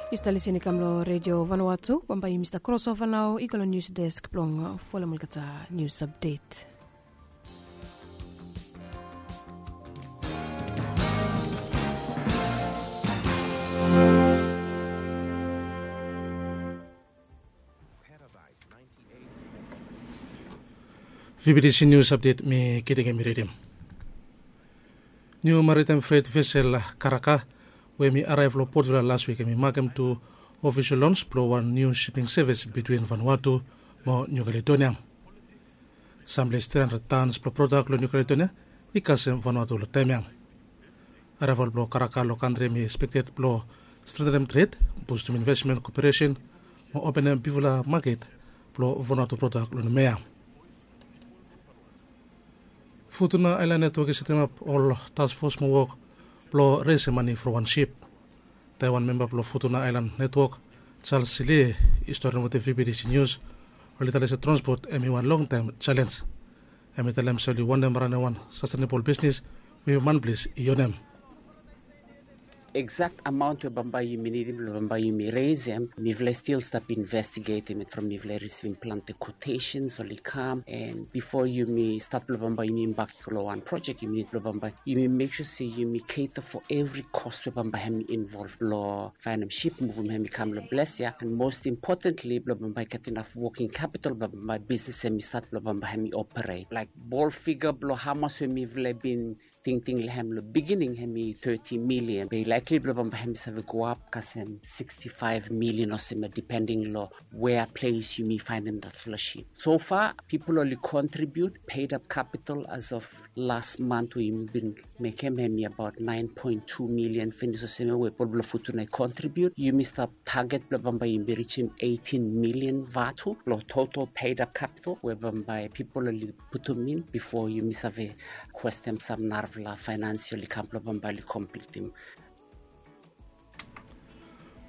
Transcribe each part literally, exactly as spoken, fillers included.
Yu stap lisin i kam long redio vanua tu. Bambae yumi stap krosova nao i go long nius desk blong folem olgeta nius apdet. Vibidisi nius apdet mi kiting em i ridim. Niu maritem fret vesel karaka we mi araev long potvila las wik em i makem tu ofisol lons blong wan niu siping sevis bitwin vanua tu mo niu kaledonia. Samples tri handred tans blong prodak long niu kaledonia i kasem vanua tu long taem ya. Araeval blong karaka long kantri em i ekspekted blong stretenem tred, bustum invesmen koperesen mo openem bigfala maket blong vanua tu prodak long numa ya. Futuna aelan netwok i setemap ol taskfos mo wok blong resem mane from wan sip. Taiwan memba blong futuna aelan netwok, charles silie, i stori wetem vptc nius oli talem se transpot em i wan longtaem selens. Em i talem se oli wantem ranem wan sastenebol bisnis we manples i onem. Eksakt amaon we bambae yumi nidim blong bambae yumi resem, mifala i stil stap investigetim it from mifala i risivim plante kotesens oli kam, en bifo yumi stat blong bambae yumi imbak i go long wan projek yumi nid blong bambae yumi mek sua se yumi keta fo evri kos we bambae hem i involv long faenem sip muvum hem i kam long ples ya, en mos impotentli blong bambae i gat inaf woking kapitol blong bambae bisnis hem i stat blong bambae hem i operet laik bol figa blong hamas we mifala i bin tingting long hem long bigining hem i teti milian be i laikli blong bambae hem i save go ap kasem siksti faef milian olsem ya dipending long wea ples yumi faenem datfala sip. So fa pipol oli kontribiut, peidap kapitol as of las mant we yumi bin mekem hem i abaot naen poen tu milian finis olsem ya we pol blong futuna i kontribiut. Yumi stap taget blong bambae yumi rijim eitin milian vatu blong total peidap kapitol we bambae pipol oli putum in bifo yumi save kwestem sam narafala faenansial i kam blong bambae oli komplitim.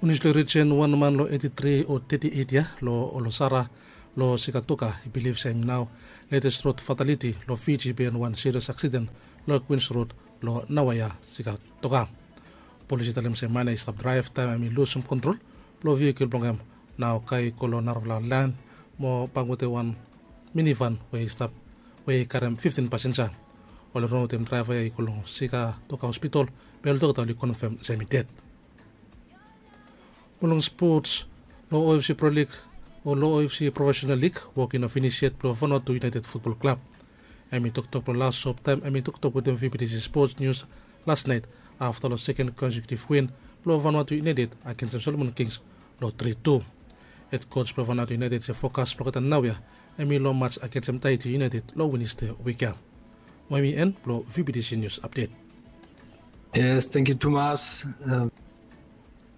Unis long rijen wan man long eti tri o teti eit yia long olosara long sikatoka i bilif se hem nao letes rod fataliti long fiji bihaen wan sirias aksiden long kwins rod long naoia sikatoka. Polis i talem se man ya i stap draev taem hem i lusum kontrol blong vihikol blong hem nao kai i go long narafala laen mo bang wetem wan minivan we i stap we i karem fiftin pasenja. Oli ran wetem draeva ya i go long sikatoka hospitol be ol dokta oli konfem se hem i ded. Mo long spots, long ofc pro lig o long ofc profesenal lig wok i no finis yet blong vanuatu iunaeted futbol klab. Hem i toktok blong las sop taem hem i toktok wetem vptc spots nius las naet afta long seken konsekitiv win blong vanuatu iunaeted agensem solomon kings long tri tu. Hed kos blong vanuatu iunaeted se fokas blong olgeta naoia hem i long mats agensem taiti iunaeted long wenesde wik ya. Mo hem i en blong vptc nius apdet. Yes, thank you tumas.